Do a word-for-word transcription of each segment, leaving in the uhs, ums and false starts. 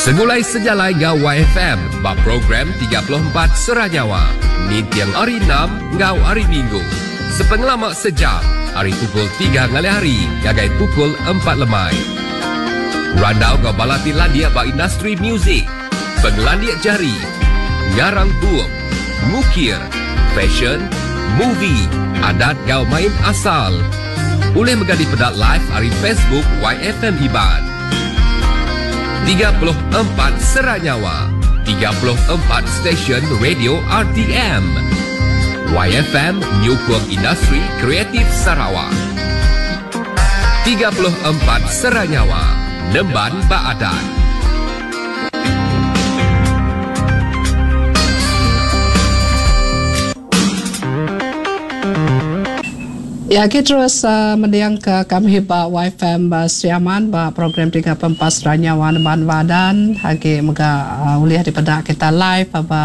Segulai sejalai enggau Y F M ba program tiga puluh empat Seranyawa ninting hari enam enggau hari Minggu. Sepengelama sejam hari pukul tiga ngalih hari ngagai pukul empat lemai. Randau enggau bala ti landik ba industri muzik, pengelandik jari, ngarang bup, ngukir, fashion, movie, adat enggau main asal. Boleh mega dipeda live hari Facebook Y F M Iban. tiga puluh empat Seranyawa, tiga puluh empat stesen radio R T M. Y F M nyukung industri kreatif Sarawak. tiga puluh empat Seranyawa, Nemban Baadat. Ya, kita terus uh, mendiang ke kami ba Y F M ba Sri Aman ba program tiga puluh empat Seranyawa Nemban Badan. Agi mega uh, ulih daripada kita live ba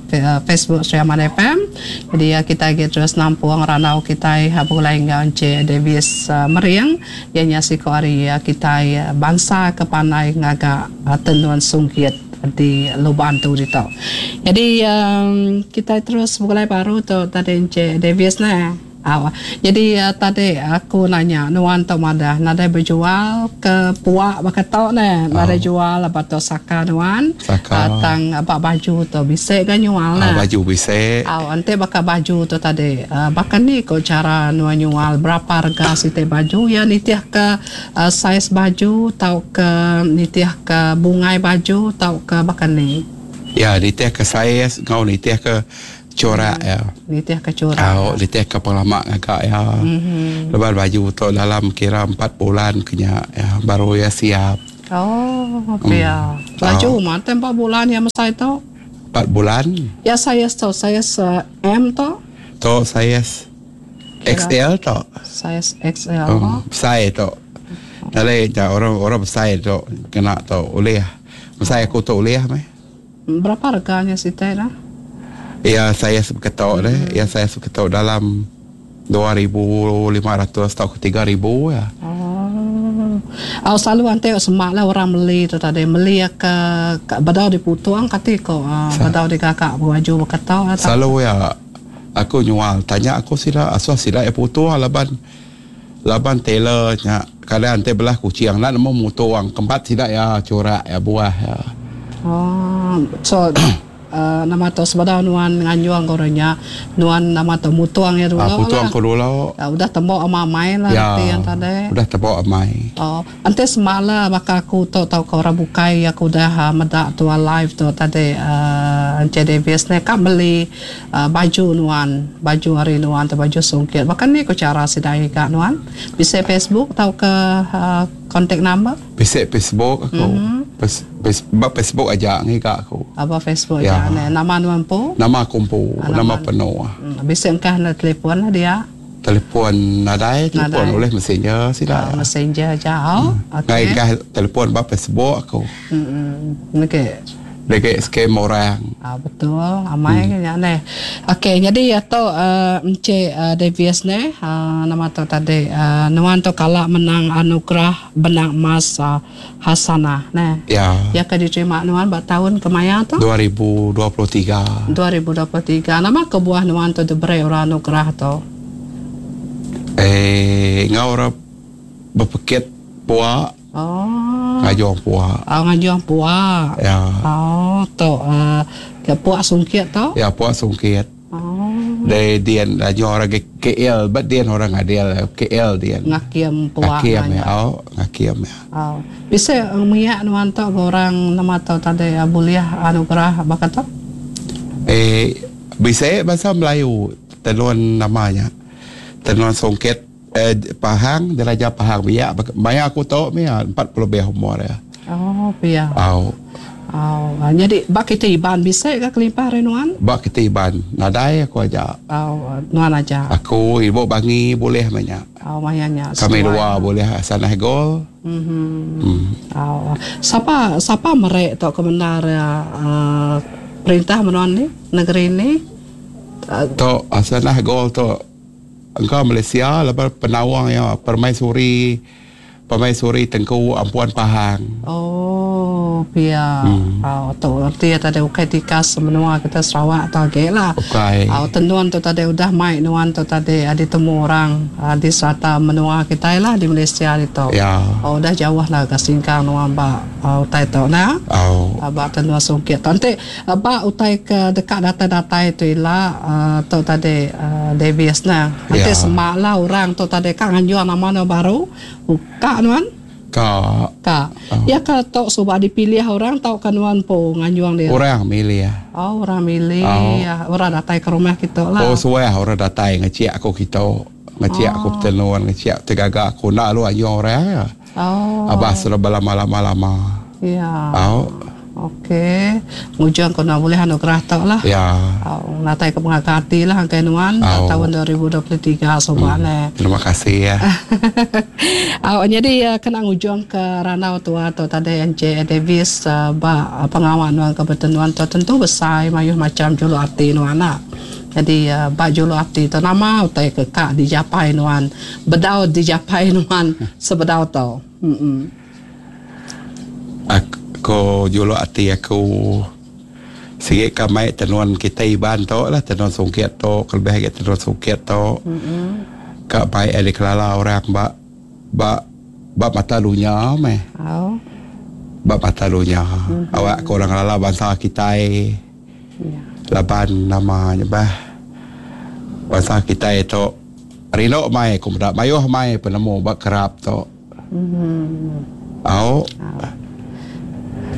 uh, Facebook Sri Aman F M. Jadi uh, kita agi terus nampung ranau kita begulai enggau Encik Davis uh, Mering ianya siko hari uh, kita uh, bangsa ke pandai ngaga uh, tenun sungkit di Lubuk Antu ditu. Jadi um, kita terus begulai baru tu tadi Encik Davis nah. Aw. Jadi uh, tadi aku nanya nuan tu madah nadai berjual ke puak bakatok ne, nadai oh. jual apa tu saka nuan. Saka. Uh, tang apa baju tu bisik kan nyual nah. Oh, baju bisik. Aw, ante baka baju tu tadi. Uh, bahkan ni ko cara nuan nyual berapa harga siti baju ya nitih ke uh, saiz baju tau ke nitih ke bungai baju tau ke bahkan ni. Ya, nitih ke saiz ngau nitih ke corak ya. Nitih ke corak. Oh, nitih ke pengalaman agak ya. Mm-hmm. Lepas baju tu dalam kira empat bulan kenya ya, baru ya siap. Oh, ya. Mm. Baju oh. mah empat bulan ya masa itu. Empat bulan. Ya saya tu saya M tu. Tu saya X L tu. Saya X L. Um, saya tu. Dalai ja orang orang besar tu kena tu oleh. Besar aku tu oleh meh. Berapa harganya sih teh lah? Ya saya seketok deh. Hmm. Ya saya seketok dalam dua ribu lima ratus atau tiga ribu ya. Oh. Oh selalu ante semak lah orang beli tu tadi beli ke, ke badau diputuang kati ko uh, badau di kakak baju berketok atau selalu ya aku nyual tanya aku sila asal sila ya putuang laban laban tailor nya kadang ante belah kucing nak nemu mutuang kempat sila ya corak ya buah ya. Oh so Uh, nama tu sebadau nuan nganjuang korangnya nuan nama tu mutuang ya dulu. Ah, mutuang ko dulu. Uh, udah tembok amai lah ya, yang tadi. Udah tembok amai. Oh, ante semala baka aku tu tau kau orang bukai aku dah uh, medak tu live tu tadi uh, Encik Davis ni kak beli uh, baju nuan, baju hari nuan tu baju sungkit. Bahkan ni ko cara sidai kak nuan. Bisa Facebook tau ke uh, contact number? Bisa Facebook aku. Mm-hmm. Bab Facebook aja ngiga aku. Apa Facebook ya. Aja nama nuan po? Nama aku po, ah, nama, nama penuh. Hmm, bisa engkah na telefon lah dia. Telefon nadai, telefon oleh messenger sila. Oh, messenger aja. Oh. Hmm. Okey. Engkah telefon bab Facebook aku. Hmm. Okey. Dekat scam orang. Ah betul, amai hmm. kan ni. Okey, jadi atau uh, Encik uh, Davis ni, uh, nama tu tadi uh, nuan tu kalak menang anugerah benang emas uh, Hasanah ne. Ya. Ya ke diterima nuan ba tahun kemaya tu? dua ribu dua puluh tiga. dua ribu dua puluh tiga. Nama kebuah nuan tu diberi orang anugerah tu? Eh, ngau orang berpekit puak. Oh. Ngajuang puak. Oh, ngajuang puak. Ya. Oh, tu uh, ke puak sungkit tu? Ya, puak sungkit. Oh. Dari dian ngajuang orang K L, but dian orang adil K L dian. Ngakiam puak. Ngakiam ya. Oh, ngakiam ya. Oh. Bisa miak nuan tu orang nama tu tadi boleh anugerah bakat tu? Eh, bisa bahasa Melayu tenun namanya. Tenun sungkit. Eh, Pahang, Diraja Pahang biak banyak aku tahu ni empat puluh lebih umur ya. Oh, pia. Oh. Oh, jadi bak kita Iban bisa ke kelimpah renuan? Bak kita Iban, nadai aku aja. Oh, nuan aja. Aku ibu bangi boleh banyak. Oh, mayanya. Kami dua boleh sanah gol. Mhm. Hmm. Oh, siapa siapa merek tok kebenar uh, perintah menuan ni negeri ni? Uh, tok asanah gol tok engkau Malaysia lepas penawang ya permaisuri permaisuri Tengku Ampuan Pahang. Oh. Oh, pia. Hmm. Oh, tu arti tadi ukai tikas menua kita Sarawak tu agi lah. Ukai. Oh, tenun tu tadi udah mai nuan tu tadi ditemu orang di serata menua kita lah di Malaysia itu. Ya. Oh, udah jauh lah ke singkang nuan ba utai tu nah. Oh. Ba tenun sungkit. Nanti ba utai ke dekat datai-datai tu ila tu tadi Davis nah. Nanti Ya. semak lah orang tu tadi kak nganjuan nama nu baru. Buka nuan. Ka. Ka. Oh. Ya ka tok subak dipilih orang tau kan nuan po nganjuang dia. Orang milih. Oh, orang milih. Oh. Ya, orang datai ke rumah kita lah. Oh, suah orang datai ngecik aku kita. Ngecik oh. aku tenun, ngecik tergagak aku nak lu anjuang orang ya. Oh. Abah sudah berlama-lama-lama. Ya. Oh. Okey. Ngujung kau nak boleh anugerah tok lah. Ya. Oh, natai ke pengakati lah angkai nuan oh. tahun dua ribu dua puluh tiga sobat hmm. ne. Terima kasih ya. Oh, jadi kena ngujung ke ranau tua atau tadi N J Davis uh, ba pengawal nuan kebetulan tu tentu besar mayuh macam julu ati nuan nak. Jadi uh, ba julu ati tu nama utai ke kak dijapai nuan, bedau dijapai nuan sebedau tu. Hmm. Aku ko julu ati aku sikit kamai tenuan kita iban tu lah tenuan sungkit tu kelebih lagi tenuan sungkit tu mm-hmm. Kak baik ada kelala orang bak bak bak mata dunia meh. Oh. Bak mata dunia. Mm-hmm. Awak korang kelala bangsa kita yeah. Laban namanya bah bangsa kita itu rinok mai aku dak mayuh mai penemu bak kerap tu. Mm-hmm. Oh. Oh.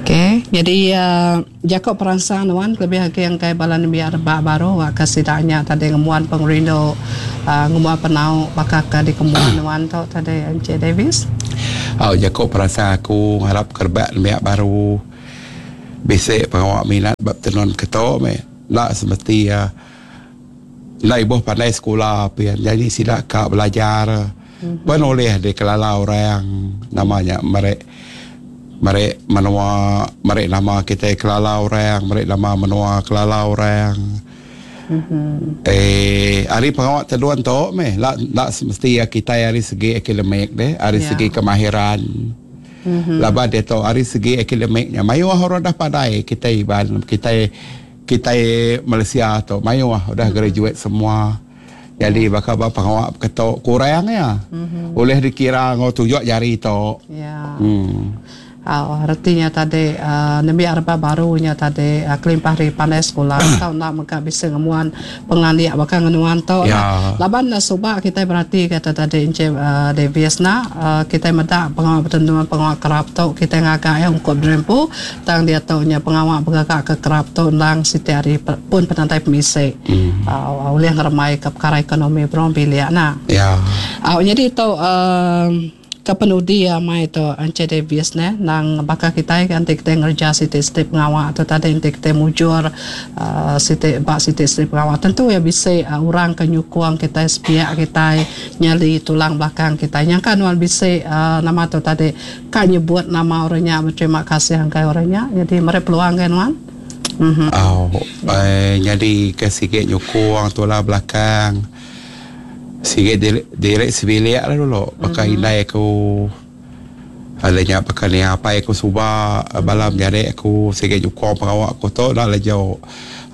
Okey, jadi uh, Jacob perangsang nuan lebih lagi yang kai balan biar rebak baru wak kasidanya tadi ngemuan pengrindu uh, ngemuan penau bakal ke di kemuan nuan tu tadi N J Davis. Oh, Jacob perangsang aku harap kerbak biar baru besek pengawak minat bab tenun ketok me. Nak semesti uh, nak ibu pandai sekolah pian. Jadi sidak kak belajar. Mm-hmm. Penoleh di kelala orang namanya merek merek menua merek nama kita kelala orang merek nama menua kelala orang. Mm-hmm. Eh hari pengawak teduan tu meh lak lak semesti kita hari segi akademik deh hari yeah. segi kemahiran. Mm-hmm. Laba dia tu hari segi akademiknya mayuh orang dah pandai kita iban kita kita Malaysia tu mayuh dah mm-hmm. graduate semua. Jadi bakal bapa pengawak ketok kurang ya. Mm-hmm. Boleh dikira ngau tunjuk jari tu. Ya. Yeah. Hmm. Oh, artinya tadi uh, nembiak rebak barunya tadi uh, kelimpah dari pandai sekolah tau nak mega bisa ngemuan pengandiak bakal ngenuan tau ya. Laban uh, subak kita berarti kata tadi Encik uh, Davis na uh, kita medak pengawak pertentuan pengawak kerap tau kita ngagak ya ungkup derempu tang dia taunya pengawak bergagak ke kerap tau ndang siti hari pun penantai pemisik hmm. uh, oleh ngeremai ke perkara ekonomi berong biliak na ya. Uh, jadi tau uh, kepenudi ya mai tu Encik Davis ne nang bakal kita kan kita ngerja siti-siti pengawak atau tadi nanti kita mujur uh, siti bak siti-siti pengawak tentu ya bisa uh, orang kenyukuang kita sepiak kita nyali tulang belakang kita yang kan wan bisa uh, nama tu tadi kan nyebut nama orangnya berterima kasih angkai orangnya jadi mereka peluang kan wan. Mm-hmm. Oh, eh, jadi ke sikit nyukuang tulang belakang sikit direk sebilik lah dulu pakai mm-hmm. indai aku adanya pakai ni apa aku subak mm-hmm. balam jari aku sikit nyukong pengawak aku tu nak lah jauh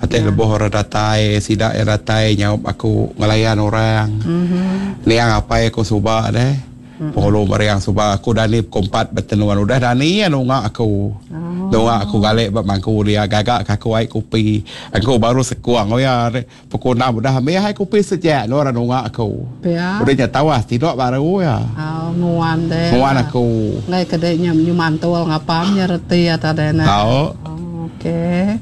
ate yeah. lebuh orang datai sidak yang datai nyaup aku ngelayan orang mm-hmm. ni yang apa aku subak deh mm-hmm. Penghulu meriang subak aku dah ni kompat bertenuan udah dah ni yang nungak aku oh. Nungak aku galik bak mangku dia gagak aku air kopi aku baru sekuang oh ya pukul enam udah ambil air kopi sejak no orang nungak aku ya. Udah nyatawas tidur baru ya oh, nguan deh nguan aku ngai kedeknya nyumantul ngapamnya reti atau dena tahu. Oh, okey.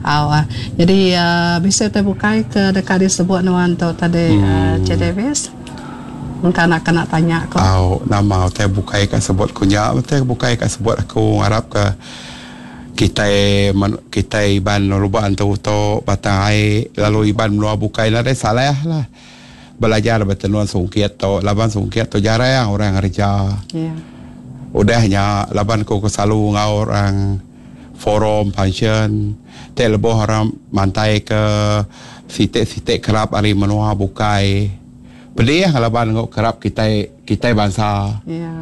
Oh, uh, jadi uh, bisa terbukai ke dekat disebut nuan tu tadi hmm. uh, Cik Davis. Mungkin nak kena tanya aku. Oh, nama utai bukai kat sebut kunya, utai bukai kat sebut aku harap ke kita kita iban lubang tu tu batang air lalu iban luar bukai lah deh salah lah belajar bertenuan sungkit tu laban sungkit tu jarang orang kerja. Ya. Yeah. Udahnya laban ku selalu ngau orang forum function tek leboh orang mantai ke sitik-sitik kerap hari menua bukai. Pedih laban ngau kerap kita kita bangsa. Ya.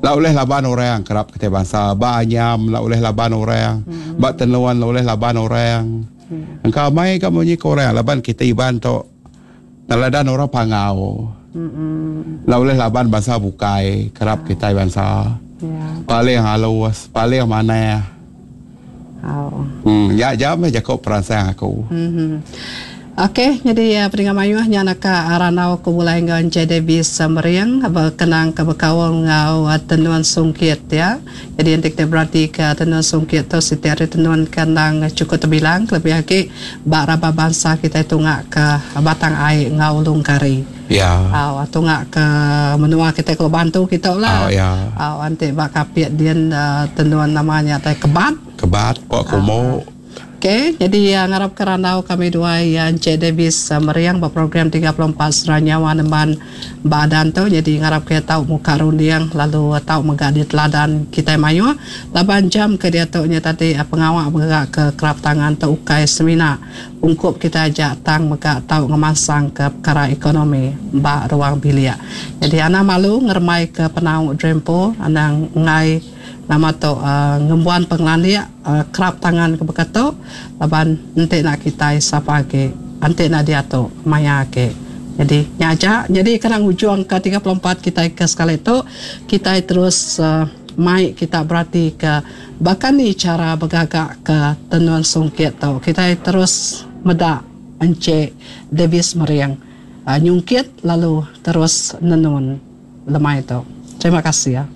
La oleh laban orang kerap kita bangsa ba anyam la oleh laban orang mm-hmm. ba tenuan la oleh laban orang. Mm. Engkau mai ka munyi ke orang laban kita Iban tu neladan orang Pangau. Mm-hmm. La oleh laban bangsa bukai kerap kita bangsa. Yeah. Paling halus, paling manah. Oh. Hmm, ya jam jago peransang aku. Mm-hmm. Okey, jadi uh, pendengar mayuh nya nak aranau ku mulai enggau Encik Davis Mering berkenang ke berkaul enggau uh, tenun sungkit ya. Jadi nanti kita berarti ke tenun sungkit tu setiap hari tenun kandang cukup terbilang lebih lagi bak raba bangsa kita tunggak ke Batang Ai enggau Ulung Kari. Ya. Aw tunggak ke menua kita kalau bantu kita lah. Oh, ya. Aw nanti bak kapit dia uh, tenun namanya tai kebat. Kebat kok kumo. Okey, jadi uh, ngarap kerandau kami dua yang Encik Davis uh, Meriang berprogram tiga puluh empat Seranyawa Nemban Badan tu. Jadi ngarap kita tahu muka rundiang lalu uh, tahu megak di teladan kita mayu. Lapan jam ke dia tu nya tadi uh, pengawak bergerak ke kerap tangan tu ukai semina ungkup kita ajak tang megak tahu ngemasang ke perkara ekonomi bak ruang bilik. Jadi anak malu ngeremai ke penau drempo anang ngai nama tu uh, ngembuan pengelandik uh, kerap tangan ke beketu laban enti nak kita sapa ke enti nak dia tu maya ke. Jadi nyaja jadi kadang ujung ke tiga puluh empat kita ke sekali tu kita terus uh, mai kita berarti ke bahkan ni cara bergagak ke tenun sungkit tu kita terus medak Encik Davis Meriang uh, nyungkit lalu terus nenun lemai tu. Terima kasih ya.